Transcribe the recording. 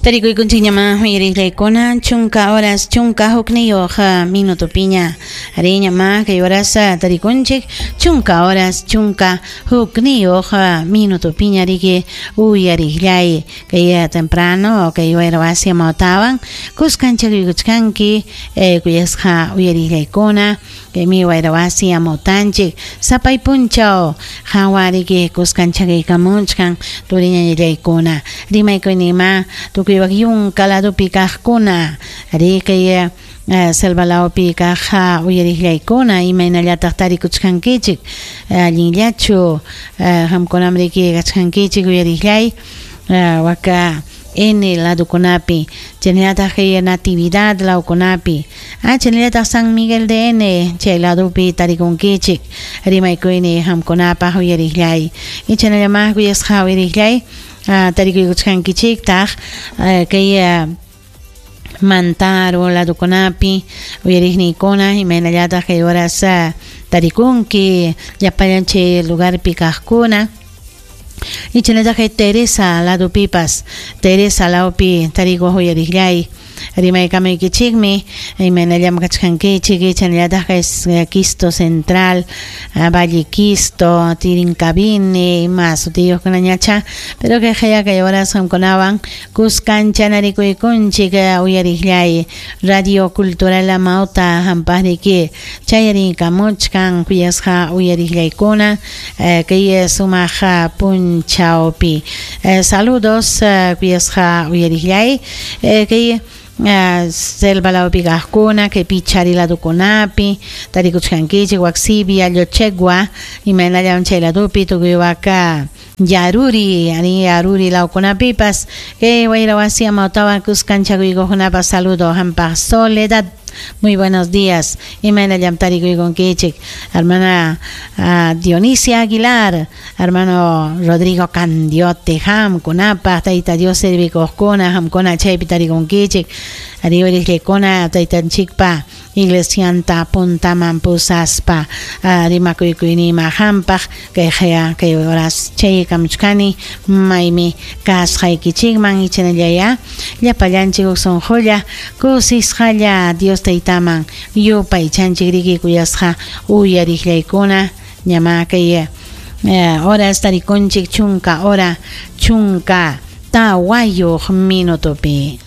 Tarikuykunchikñamá uyariqllaykuna chunka horas 11 minutopiña. Arí, ñamá kay horas tarikunchik chunka horas 11 minutopiña riki uyariqllay kay temprano kay wayra wasi amawtawan kuskanchakuykuchkanki kuyasqa uyariqllaykuna kaymi wayra wasi amawtanchik sapay punchaw hawa riki kuskanchakuykamuchkan turiñañallaykuna rimaykuynima tukuy wak yunka ladopi kaqkuna arí kay selva lawpi kaq uyariqllaykuna imaynallataq tarikuchkankichik allinllachu qamkunam riki kachkankichik uyariqllay waka N ladokunapi chaynallataq kay Natividad lawkunapi chaynallataq San Miguel de N chay ladopi tarikunkichik rimaykuyni qamkunapaq uyariqllay chaynallamá kuyasqa uyariqllay tarikuykuchkankichiktaq kay Mantaro ladokunapi uyariqniykuna imaynallataq kay horas tarikunki llapallan chay lugarpi kaqkuna chaynallataq kay Teresa ladopipas Teresa lawpi tarikuq uyariqllay rimaykamuykichikmi imaynallam kachkankichik chaynallataq kay Quisto Central Valle Quisto Tirincabini ima sutiyuqkunañacha pero kay qaya kay horas qamkunawan kuskanchanarikuykunchik uyariqllay Radio Cultural Amauta hampaqriki chayarikamuchkan kuyasqa uyariqllaykuna kay sumaq punchawpi saludos kuyasqa uyariqllay kay selva lawpi kaqkuna kay Pichari ladokunapi tarikuchkankichik Huaxibia Llochegua imaynallam chay ladopi tukuy waka Yaruri ari Yaruri lawkunapipas kay wayra wasi amawtawan kuskanchakuykuqkunapas saludo hampaq Soledad. Muy buenos días. Imaynallam tarikuykunkichik hermana Dionisia Aguilar, hermano Rodrigo Candiote, hamkunapaq tayta Dios servikuqkuna hamkuna chaypi tarikunkichik ari uyariqllaykuna taytanchikpa iglesianta puntaman pusaspa rimakuykuynima hampaq kay qaya kay horas chaykamuchkani maymi kasqaykichikman ichanallaya llapallanchik huk sunqulla kusisqalla Dios taytaman yupaychanchik riki kuyasqa uyariqllaykuna ñamá kay horas tarikunchik chunka hora 14 minutopi.